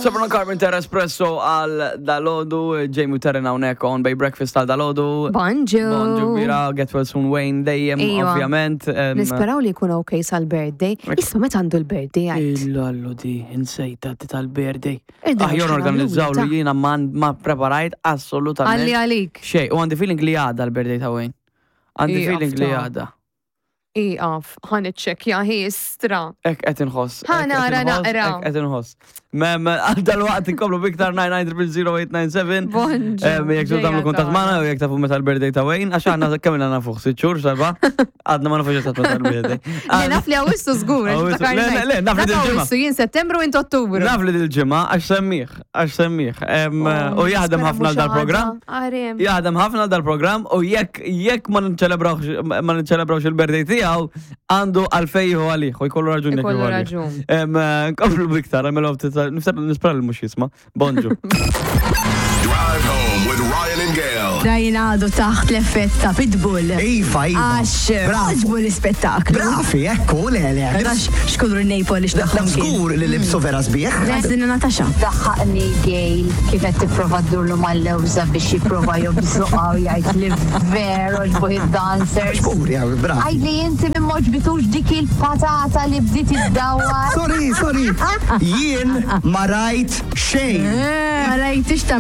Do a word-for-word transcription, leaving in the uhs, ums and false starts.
Sabrina Carpenter, Espresso għal dalgħodu, Jamie Terren hawnhekk on Bay Breakfast għal dalgħodu. Bonġu. Bonġu kbira, get well soon Wayne dejjem, Iva. Ovvjament. em, Nisperaw li jkun ok sal-birthday. Issa meta għandu l-birthday għajt? Illallu di, insejta di tal-birthday. Irdu Aħjar xi organizzaw nagħmlu, li jiena ma ma preparajt assolutament. Għalli għalik. Xej, u għandi feeling li għada l-birthday ta' Wayne. Għandi Ija, feeling li fta. għada. Iqaf, ħa niċċekkja histra. Ek qed inħoss. Ħa ek qed nara inħoss, naqra. Ek qed inħoss. Mem, għal dal-waqt inkomplu biktar nine nine zero zero eight nine seven. Bonġu. Em, Jekk tridu tagħmlu Ġejja kuntatt tagħna. magħna u jekk tafu meta l-birthday ta' Wayne, għax aħna kemm ilna nafuh, sitt xhur, seba', għadna ma nafux eżatt meta l-birthday. Le, naf li Awwissu żgur. Awwissu. Le, le, le, naf li dil-ġimgħa. Awwissu, jien Settembru, int Ottubru. Naf li dil-ġimgħa għax semmih, għax semmih. Em, Oh, U jaħdem ħafna għal dal-programm. Għarem. Jaħdem ħafna għal dal-programm u jekk jekk ma nċelebrawx ma nċelebrawx il-birthday tiegħu, għandu għalfej jieħu għalih u jkollu raġun jekk Ikollu jieħu għalih. raġun. Em, eh, Nkomplu biktar, għamilhom ftit, nispera li mhux jisma'. Bonġu. Drive home with Ryan and Gail. Ryan għadu taħt l-effett ta' Pitbull. Iva, iva. Għax Bravo. għoġbu l-ispettaklu. Bravi, ekku, le, le. Għax xkulur Napoli Naf x'tagħhom kien. żgur li libsu vera sbieħ. Għazdina Natasha. Daħħaqni Gail kif qed tipprova ddurlu mal-lewża biex jipprova jobżuqha u jgħid li veru għoġbu id-dancers. Żgur, ja, bravi. Għidli inti minn m'għoġbitux dik il-patata li bdiet iddawwar. Sorry, sorry. Jien ma rajt xejn. Ma rajtix ta'